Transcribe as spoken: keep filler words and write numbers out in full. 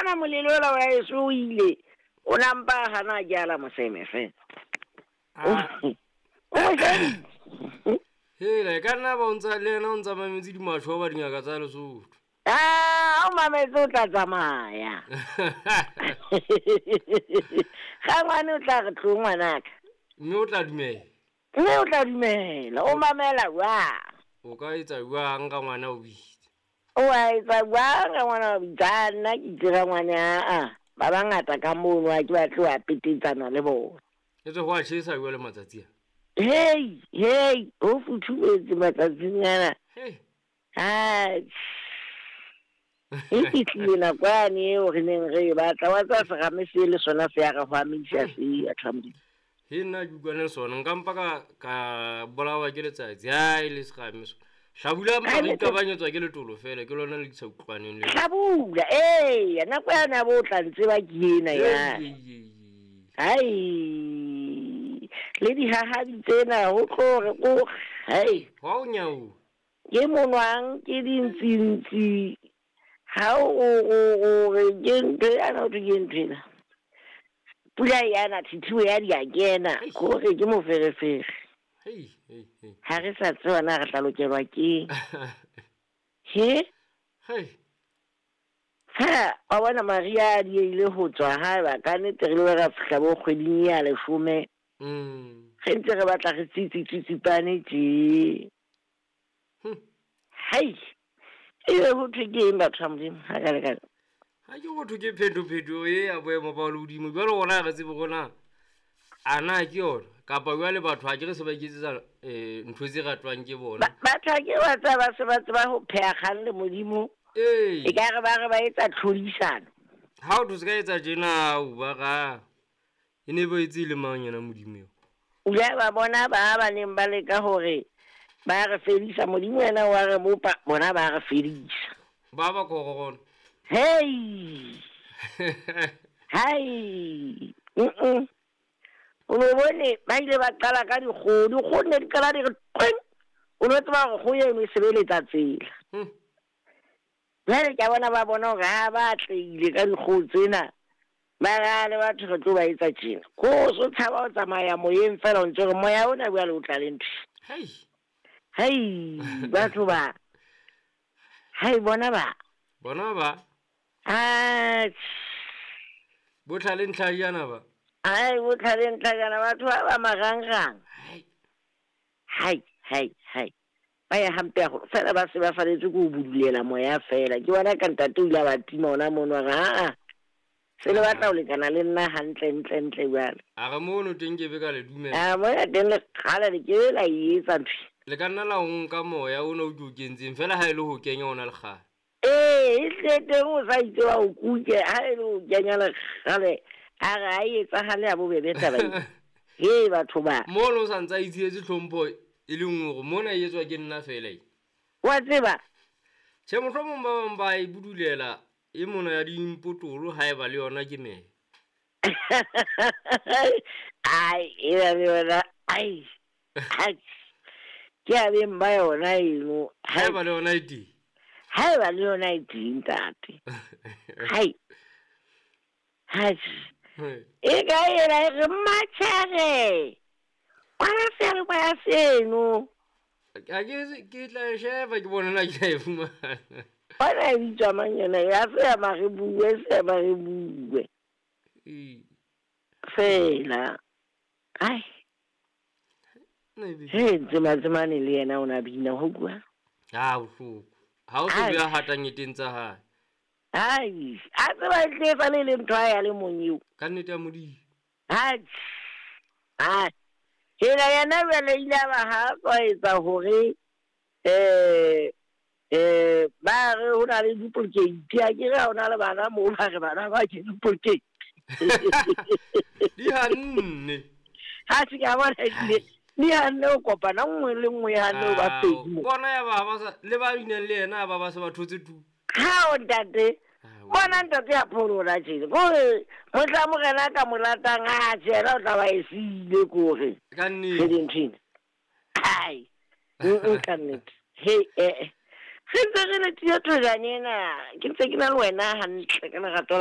Bona molelo ola wa eso o ile. O nampa hana ke ala moseme fela. Ah. O mo shebile. Hela, e ka nna ba o ntsa le yena o ntsa mametse dimasho ba dingaka tsa Lesotho. Ah, o mametse o tla tsamaya. Ga ngwane o tla re tlo ngwanaka. Mme o tla dumela. Mme o tla dumela, o mamela jwang? O ka etsa jwang ka ngwana o bitse? O a etsa jwang ka ngwana o bitsa? Nna ke itse ka ngwana a ba bangata ka mono ha ke batle ho petetsana le bona. E tswe ho a tjhesa jwale matsatsi a. Hey, hey, ho futhumetse matsatsing ana. Hey. Ai. E fihlile nako yane eo re neng re e batla, wa tseba serame se le sona se ya re hwamisa se ya thamodi. He nna ke utlwane le sona, nka mpa ka, ka bolawa ke letsatsi, ha e le serame sona. Hlabula mpa Ai, re le ikabanyetswa ke letolo fela, ke lona le ke sa utlwaneng le. Hlabula, eya, nako yane ya bo o tla ntseba ke ena ya. Ei, ei, ei, ei. Ai, le dihahabi tsena ho tlo re ko, hai. Hwa o nyau. Ke monwang, ke dintsintsi. Ha o, o, o, o re ke ntho ena, ho thwe ke ntho ena. Pula yana, thithibo ya di a kena, Hei. kore ke moferefere. Hei, hei, hei. Ha re sa tseba na re tla lokelwa keng. He? Hei. Ha, wa bona Maria a diehile ho tswa haeba ka nnete re ile ra fihla bo kgweding ya leshome. Mm. Re ntse re batla re tsitsi tsitsipane tje. Hm. Hai. Ebe ho thwe ke eng batho ba Modimo? Ha ka le ka. Ha ke ho thwe ke phetopheto e ya boemo ba lehodimo. Jwale rona ha re tsebe hore na a na ke yona kapa jwale batho ha ke re se ba iketsetsa, eh, ntho tse ratwang ke bona. Ba-, batho ha ke ba tseba, ba se ba tseba ho pheha kgang le Modimo. Ee. E ka re ba re ba etsa tlhodisano. Ha o thwe se ka etsa tjena, o ba ra. E ne ba etse le mang yena Modimo eo? O ile ba bona ba ba neng ba leka hore ba re fedisa, Modimo yena wa re bopa, bona ba re fedisa. Ba ba corona. Hey. Hai. Mm-mm. O no bone ba ile ba qala ka dikgoho, dikgoho ne di qala di re qweng. O no tseba hore kgoho eno e sebeletsa tsela. Hmm. Jwale ke a bona ba bona hore ha ba atlehile ka dikgoho tsena, ba ra le batho re tlo ba etsa tjena. Ko so tshaba ho tsamaya moyeng fela o ntse re moya ona jwale o tla le ntho. Hei. Hei, batho ba. Hei, bona ba. Bona ba. Atjhe. Botlhale ntlhajana ba. Ai, botlhale ntlhajana batho ba ba marangrang. Hai. Hai, hai, hai. Ba ya hampe haholo. Fela ba se ba faletse ke ho budulela moya fela. Ke bona ka ntate o ile a ba tima hona mono, a re, ha-a. Se le batla ho lekana le nna hantle, ntle, ntle jwale. A re mono teng ke be ka le dumela. A moya teng le kgale le ke be la e etsa ntho. Le ka nna la o nka moya ona o ke o kentseng fela ha e le ho kenya ona le kgale. Ee, e tle teng o sa itse wa o kuke, ha e le ho kenya le kgale, a re ha e etsahale ya bobebe taba ena. Hei, batho ba. Mono o sa ntse a itshietse tlhompho e le nngwe hore mona e etswa ke nna fela e. Wa tseba? Tjhe, mohlomong ba bang ba e budulela e mona ya dimpotolo haeba le yona ke meya. Ai, e ba le yona, ai, ai. Ke a beng ba yona eno. Haeba le yona e teng. Haeba le yona e teng, ntate. Hai. Hai. E ka ena e re matjhere. Kwana seyalemoya seno. A ke, ke tla e sheba ke bone na ke a e fumana. Bona e bitswa mang yona? Ya se ya Marebue, se ya Marebue. Ee. Fela. Ai. Nna e be- He, Ntsema-Tsemane le yena o na bina ho bua. Ha bohloko. Ha o so Ai. be a hatang eteng tsa hae. Ai, a tseba e tle e sale le ntho ya le mong eo. Ka nnete ya Modimo. Ai. Ai. Hela yena jwale ile a ba ha tswa etsa hore, eh, eh, ba re ho na le duplicate. A ke re ha ho na le bana moo, ba re bana ba ke duplicate. Di hanne. Ha se ka bona ebile di hanne ho kopana nngwe le nngwe ya hanne ho ba Ao, pedi mo. Bona ya ba ba sa, le ba binang le yena ba ba se ba thotse tu. Ha o ntate. Ao. Bona ntate ya pholola tjena. Kore mohla morena ka mo ratang, a tjena o tla ba e siile kore. Ka nnete. Re di nthwena. Ai. Mm-mm, ka nnete. He, eh, eh. Re ntse re le tiyo thojana ena, ke ntse ke na le wena hantle ka lerato